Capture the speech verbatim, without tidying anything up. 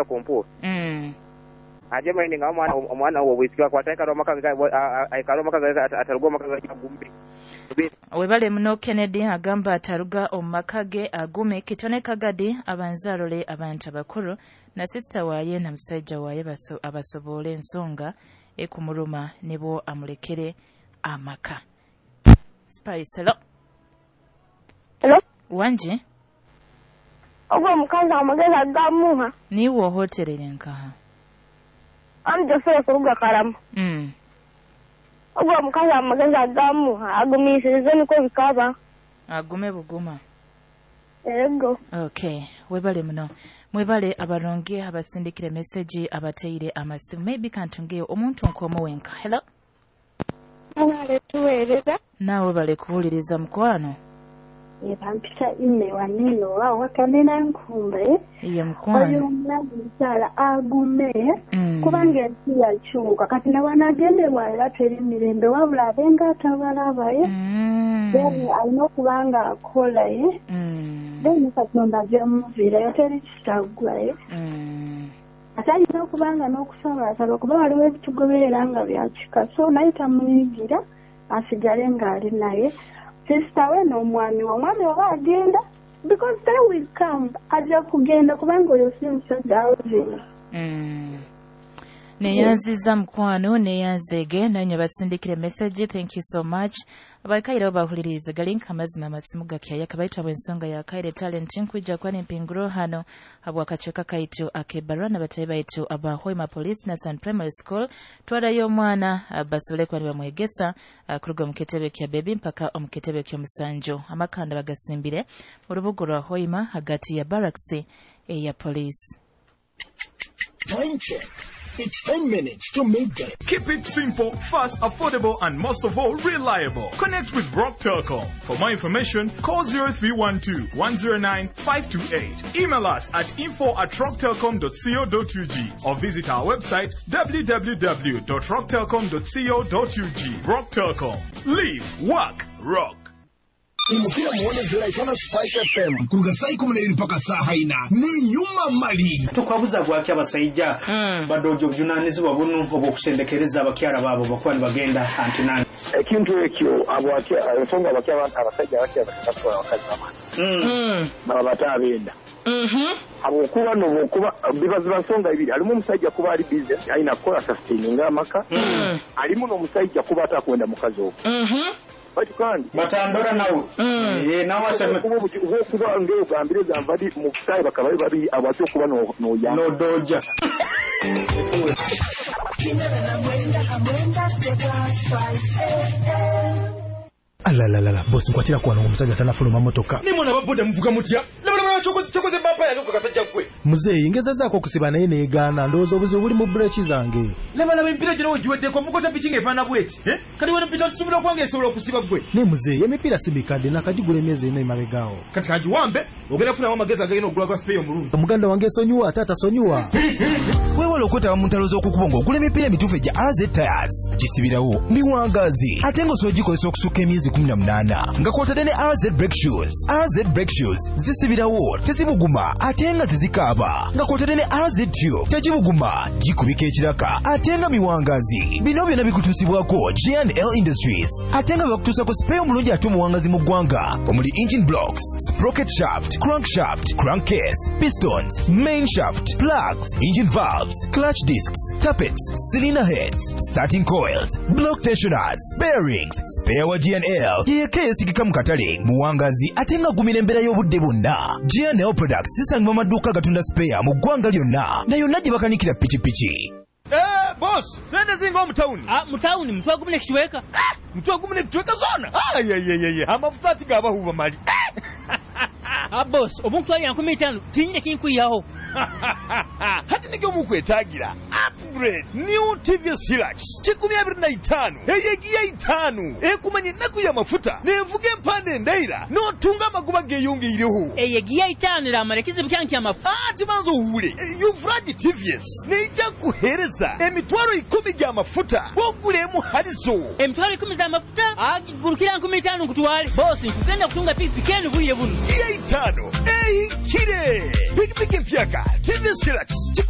Kumpu. Mm. Aje maini nga omwana omwana wo bwisiki akwata aikara omaka aikara omaka ataruga omaka agumbe. Webale muno Kennedy agamba ataruga omumaka ge agume. Kitone Kagadi abanza arole abantu abakuru na sister waye na musaija waye baso, abasobole ensonga ekumuruma nibo amulekere amaka. Spice, hello. Hello. Wanje? Ogwo omukazi amagezi agamuha. Niwe ohoterere nkaha? Amujofere kuruga Karama. Mm. Ogwo omukazi amagezi agamuha agumiisirize niko bikaba. Agume buguma. Ego. Okay, webale muno. Mwebale abaronge abasindikire message abateire amasimu. Maybe kantungeyo omuntu nkomo wenka. Hello. Mwebale tuweereza. Nawe bale kuwuliriza mukwano. Bampita ime waneno wawakanena nkumbe. Iye mukwano. Oyo omulamu mukyala agume. Mm. Kubanga ensi yakyuka kati ne wanagenderwa era teri mirembe wabula abenga atabalaba ye. Mm. Then alina okuba nga akola ye. Mm. Then Katonda ajja teri kitaggwa ye. Mm. Ate alina okuba nga n'okusaba kuba waliwo ebitugoberera nga byakika so naye tamunyigira asigale ng'ali naye. Sister we n'omwami we, omwami oba agenda because they will come, ajja kugenda kubanga oyo si musajja Alvin. Mm. Neyanziza mukwano, neyanzege nanye basindikire message. Thank you so much. Abakaire bahulirize galinka amazima amasimu gakyaya kabaita bwensonga ya kaire talent nkuja kwani mpinguro hano habwa kacheka kaitu akebarwa na batayi baitu aba Hoima Police na San Primary School twarayo omwana basole kwani bamwegesa kuruga muketebe kya baby mpaka omuketebe kyo musanjo amakanda bagasimbire urubugo rwa Hoima hagati ya barracks ya police. Time check. It's ten minutes to midday. Keep it simple, fast, affordable, and most of all, reliable. Connect with Rock Telcom. For more information, call zero three one two, one zero nine, five two eight. Email us at info at rocktelcom dot co dot U G or visit our website w w w dot rock telcom dot co dot U G. Rock Telcom. Live, work, rock. Imukira muone ziraitana Spice F M kuruga saa ikumi na ibiri mpaka saa haina ni nyuma mali tukwabuza gwaki abasajja mm. badojo obuvunanyizibwa buno obw'okusendekereza abakyala baabo bakuba nibagenda antinani ekintu ekyo abo ensonga abasajja abakyala batwala abakazi mm. baba batabenda mhm habwokuba nobwokuba biba ziba nsonga ibiri alimu omusajja kuba ali busy alina kukola sustaining amaka mm. alimu n'omusajja kuba atakwenda mukazi ogwo mhm bati kandi batandora nawe mm. eh nawe aseme kuba ngeo gambire gambadi mu kutayi bakaba babi abatyo kuba no no ya no doja Alalalala boss nkwatira kwa omusajja tanafuluma motoka nimona baboda muvuga mutya nabona chokoze chokoze bampa yange kasajja gwe muzeeyi ngezezaako okusiba naye neegaana ndowooza obuzibu buli mu breki zange laba laba emipiira gino wegiweddeko mukota piki ng'efaanana bweti eh? Kati wano mpita tusobola okubanga esobola okusiba gwe naye muzeeyi emipiira si mikadde nakagigula emyezi ena emabegaawo kati kagiwambe ogenda kufunamu amagezi agagenda okugula gwa sipeeyo omulungi omuganda wange esonyiwa ate atasonyiwa weewale okwetaba mu ntalo z'okukubo ng'ogula emipiira emituufu egya A Z Tires gisibirawo miwangaazi ate ng'osobola ogikozesa okusukka emyezi kumi na munaana nga kw'otadde ne A Z brake shoes. A Z brake shoes zisibirawo tezibuguma ate nga tezikaaba nga kw'otadde ne A Z tube tegibuguma gikubika ekiraka ate nga miwangaazi. Bino byonna bikutuusibwako G and L Industries ate nga bakutuusako sipeeyo omulungi ate omuwangazi mu ggwanga omuli engine blocks, sprocket shaft, crankshaft, crankcase, pistons, main shaft, plugs, engine valves, clutch discs, tappets, cylinder heads, starting coils, block tensioners, bearings. Spare wa G and L yeyeka eyesigika mu katale muwangazi ate nga gumira embeera y'obudde bwonna. G and L products zisangibwa mu maduuka agatunda spare mu ggwanga lyonna na yonna gye bakanikira pikipiki. Eh, boss, sente zinga omu town. Ah, mu town mutwe gumu nekichweka. Ah, mutwe gumu nekichweka zona. Ah, ye ye ye ye. Amafuta ati gabahuba mali. Ah, boss, omuntu ali ankumi itaano tinyine kinkuyaho. Hati nikyo mukwetagira. Upgrade new T V S Hilux kikumi abiri na itaano eyegiya itaano ekumanye ennaku y'amafuta nenvuga empande endaira n'otunga amagoba geeyongeireho eyegiya itaano eramara ekizibu kyange ky'amafuta. Ati banza owule Yuvuraji T V S neija kuhereza emitwaro ikumi gy'amafuta wogulemu halizo emitwaro ikumi z'amafuta agigurukira nkumi itaano nkutwale boss nkugenda kutunga pikipiki eno bwire buno giya itaano ehikire pikipiki empyaka T V S Hilux.